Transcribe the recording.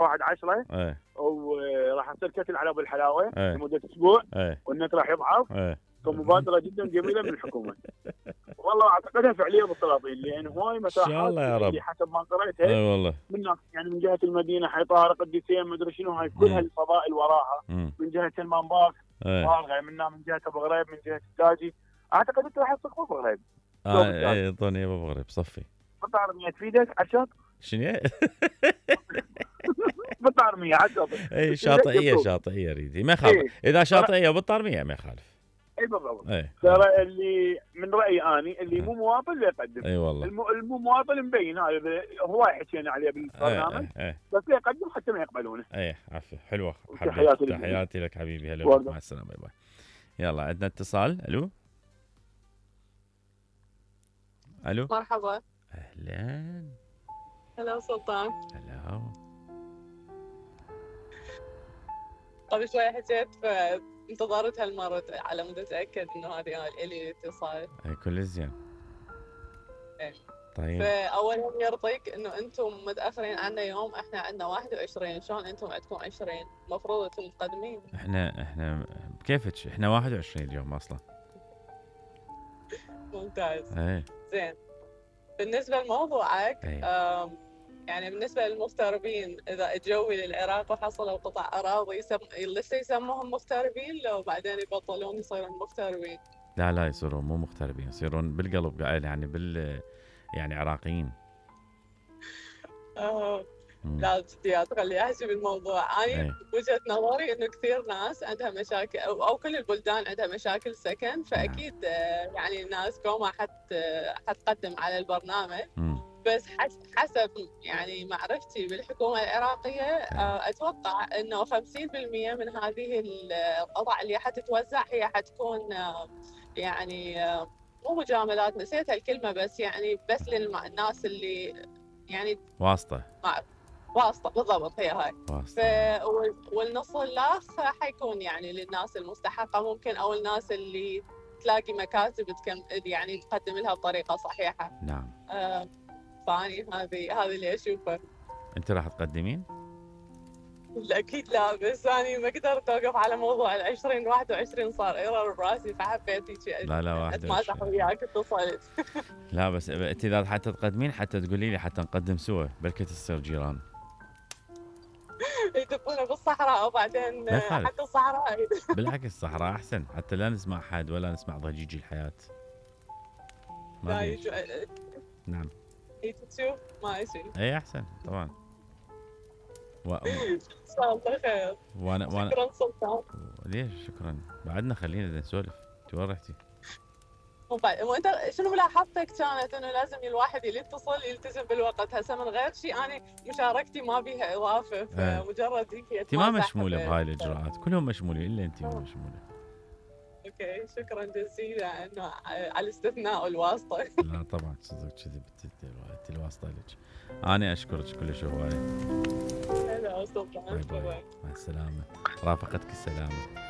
1/10 ايه وراح تصير كتل على ابو الحلاوه ايه لمده اسبوع ايه والنت راح يضعف. ايه فمبادره جدا جميله من الحكومه. والله اعتقدها فعليه بالسلاطين لان هواي ان شاء مساحات الله يا رب. اللي حسب ما قريتها اي والله. من يعني من جهه المدينه حيطار قديسيه ما ادري شنو، هاي كل هالفضائل وراها. من جهه المنباك فارغه، من جهه ابو غريب، من جهه التاجي. اعتقد انت راح تصير ابو غريب. اي اعطوني ابو غريب صفي. قطع رميه تفيدك عشان شنو؟ بالطارميه عشان اي شاطئيه اريد ما يخالف. اذا شاطئيه وبالطارميه ما يخالف. اي بالضبط. اي ترى اللي من رايي اني اللي مو مواطن لا يقدم. اي والله. المو مواطن مبين هذا هواي حكينا عليه بالبرنامج. بس لا يقدم حتى ما يقبلونه. اي عفوا حلوه. تحياتي لك حبيبي. هلا مع السلامه. باي باي. يلا عندنا اتصال. الو مرحبا. اهلا. هلا سلطان. هلا. قبل شوي حكيت فانتظرت هالمرة على مود اتاكد انه هذه الي اتصال. كل زين. طيب. فاولا يرضيك انه انتم متاخرين عنا يوم، احنا عندنا 21، شلون انتم عندكم 20؟ المفروض انتم متقدمين. احنا بكيفك احنا 21 اليوم اصلا. ممتاز. ايه. زين. بالنسبه لموضوعك يعني بالنسبه للمغتربين، اذا اجوا للعراق وحصلوا قطع اراضي لسه يسموهم مغتربين لو بعدين يبطلون يصيرون مغتربين؟ لا يصيرون مو مغتربين، يصيرون بالقلب يعني يعني عراقيين. لا جديات خلي احكي بالموضوع. انا وجهه نظري انه كثير ناس عندها مشاكل او كل البلدان عندها مشاكل سكن، فاكيد يعني الناس قومه حتقدم على البرنامج. بس حسب يعني معرفتي بالحكومه العراقيه اتوقع انه 50% من هذه القطع اللي حتتوزع هي حتكون يعني مو مجاملات، نسيت الكلمه، بس يعني بس للناس اللي يعني واسطه بالضبط، هي هاي والنص الاخ حيكون يعني للناس المستحقه ممكن، او الناس اللي تلاقي مكاتب يعني تقدم لها بطريقه صحيحه. نعم. فاني هذه اللي اشوفه. انت راح تقدمين؟ اكيد لا، بس اني ما قدرت اوقف على موضوع 20 21 صار ايرور براسي، فحبيت هيك لا اتمازح وياك اتصلت. لا بس انت اذا حتى تقدمين حتى تقولي لي حتى نقدم سوا، بلكي تصير جيران. يدبونه بالصحراء وبعدين حتى الصحراء بالعكس الصحراء احسن، حتى لا نسمع حد ولا نسمع ضجيج الحياه. لا نعم. تشوف ما شيء. اي احسن طبعا. ان شاء الله خير. وانا شكرا سلطان. ليش شكرا؟ بعدنا خلينا نسولف. انت وين رحتي؟ وانت شنو ملاحظتك كانت انه لازم الواحد اللي يتصل يلتزم بالوقت؟ هسه من غير شيء انا مشاركتي ما بيها اضافه، فمجرد هيك انت ما مشموله بهاي الاجراءات، كلهم مشمولين الا انت مو مشموله. اوكي شكرا جزيلا انه على الاستثناء والواسطه. لا طبعا صدق كذي انت الواسطه لك. انا اشكرك كلش هوايه. هلا سلطان. مع السلامه. رافقتك السلامه.